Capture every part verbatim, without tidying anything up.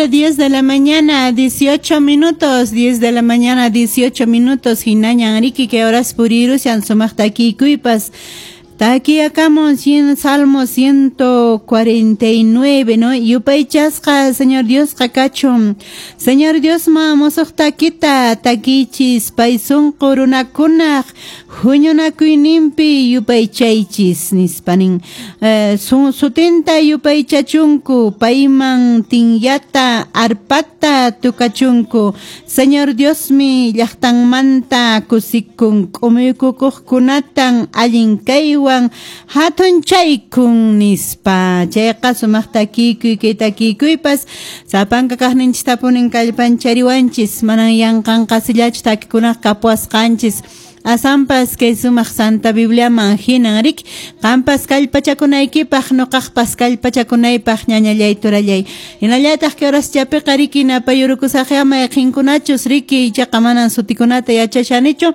diez de la mañana, dieciocho minutos, diez de la mañana, dieciocho minutos, hinañan riki que horas purirushan sumaq takikuypas. Takiakamun Salmo ciento cuarenta y nueve, ¿no? Yupaychasqa Señor Diosqa kachun. Señor Dios ma mosoq takita takichis pay sunqu runakunaq huñunakuyninpi yupaychaychis nispanin. Eh, sutinta yupaychachunku payman tinyata arpata tukachunku. Señor Diosmi llaqtanmanta kusikun k'umuykukuqkunatan allin kaywan hatun chaykun nispa. Chayqa sumaq takikuy kay takikuypas sapanka kaqninchistapunin kallpanchariwanchis manan yanqanqasillachu takikunaqa kapuwasqanchis. Asampas kay sumaq Santa Bibliaman hinan rik qampas kallpachakunaykipaq nuqaqpas kallpachakunaypaq ñañallay turallay. Hinallataq kay horaschapiqa riki napayurukusaqya mayqinkunachus riki ichaqa manan sutikunata yachashanichu.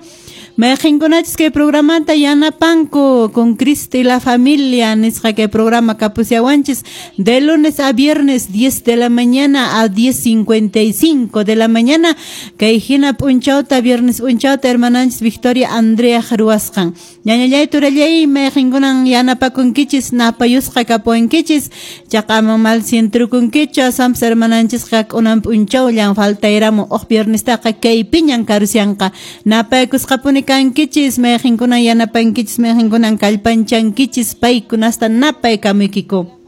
Mayqinkunachus kay programata yanapanku con Cristo y la familia nisqa kay programa kapusiawanchis de lunes a viernes diez de la mañana a diez cincuenta y cinco de la mañana kay hina p'unchawta viernes p'unchawta hermananchis Victoria Andrea ruwasqan. Ñañallay turallay mayqinkunan yanapakunkichis napayusqa kapuwankichis chaqa ama mal sientrukunkichu asampas hermananchisqa k'unan p'unchawllan faltayramu uq viernestaqa kaypiñan karusyanqa napaykusqapuni kankichis mayqinkunan yanapankichis mayqinkunan kallpanchankichis paykunasta napaykamuykiku.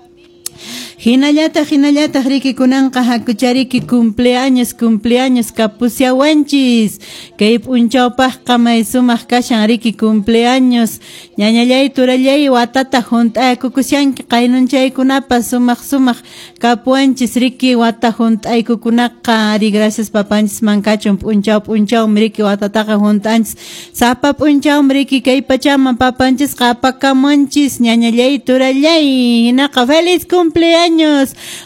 Hinallataq hinallataq riki kunanqa hakuchariki cumpleaños cumpleaños kapusiawanchis kay p'unchawpaqqa may sumaq kashan riki cumpleaños ñañallay turallay watata hunt'aykukushanki qaynunchaykunapas sumaq sumaq kapuwanchis riki wata hunt'aykukunaqa ari gracias papanchisman kachun p'unchaw p'unchawmi riki watataqa hunt'anchis sapa p'unchawmi riki kay pachaman papanchisqa apakamunchis ñañallay turallay hinaqa feliz cumpleaños.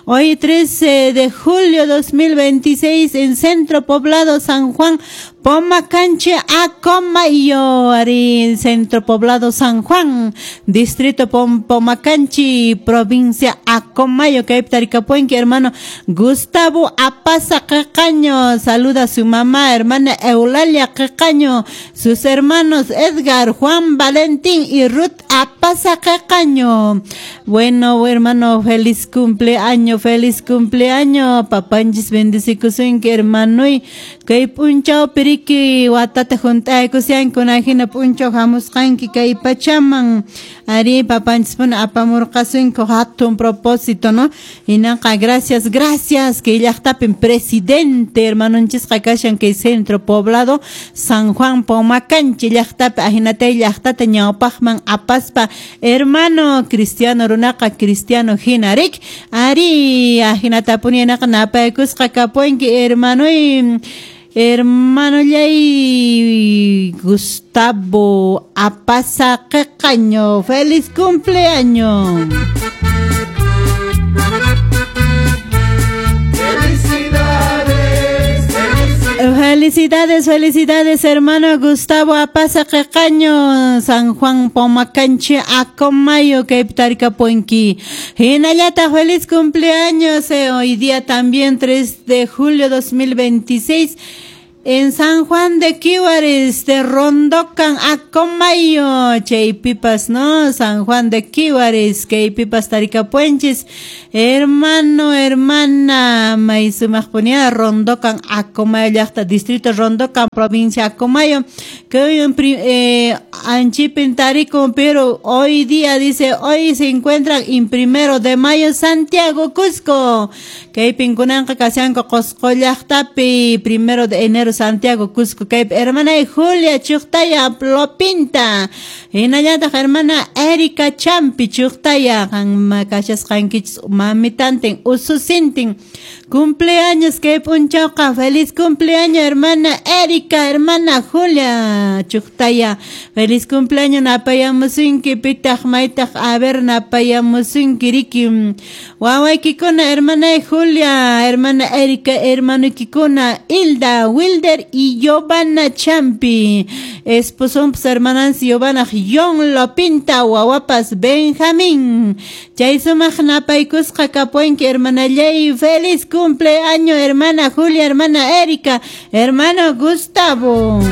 Hoy trece de julio dos mil veintiséis en Centro Poblado San Juan, Pomacanche, Acomayo, ari Centro Poblado San Juan, Distrito Pom Pomacanchi, provincia Acomayo, que Taricapuenque, hermano Gustavo Apaza Quecaño, saluda a su mamá, hermana Eulalia Quecaño, sus hermanos Edgar, Juan Valentín y Ruth Apaza Quecaño. Bueno, hermano, feliz cumpleaños, feliz cumpleaños, papanchis bendecikusunki, hermano, y kay p'unchaw piriki watata hunt'aykusianki kunahina p'unchaw hamusqanki kay pachaman ari papanchis puna apamurqasunku hatun propósito, ¿no? Hinaqa gracias, gracias kay llaqtapin presidente hermanonchisqa kashan kay Centro Poblado San Juan Pomacanchi llaqtapi ahinatay llaqtata ñawpaqman apaspa hermano cristiano runaqa cristiano hina rik ari ahinatapuni hinaqa napaykusqa kapuwanki hermanoy. Hermano Yay Gustavo Apaza Quecaño, feliz cumpleaños. Felicidades, felicidades, felicidades, hermano Gustavo Apaza Quecaño, San Juan Pomacanche, Acomayo, Caiptarcapuenqui. Hinallata, feliz cumpleaños, eh, hoy día también, tres de julio dos mil veintiséis. En San Juan de Quiwaris, de Rondocan, Acomayo, Chaypipas, ¿no? San Juan de Quiwaris, Chaypipas, Taricapuenchis, hermano, hermana, Maizumajponía, Rondocan, Acomayo, llaqta, distrito Rondocan, provincia Acomayo, que hoy en eh, Anchipin Tarico, pero hoy día, dice, hoy se encuentran en primero de mayo, Santiago, Cusco, Kaypinkunanqa kashanku Qosqo llaqtapi, primero de enero, Santiago, Cusco, kaypi hermana Julia Chuqtaya Plopinta, hinallataq hermana Erika Champi Chuqtaya, qanma kashasqankichis mamitantin ususintin. Cumpleaños kay p'unchawqa, feliz cumpleaños hermana Erika, hermana Julia Chuqtaya, feliz cumpleaños napayamusunki pitaq maytaq a ver napayamusunki riki wawaykikuna hermana Julia, hermana Erika, hermanuykikuna Hilda, Wilder y Giovanna Champi, esposonpas hermanansi Giovanna John Lopinta, wawapas Benjamín, chay sumaq napaykusqa kapuwanki hermanallay, feliz cumpleaños. cumpleaños, hermana Julia, hermana Erika, hermano Gustavo.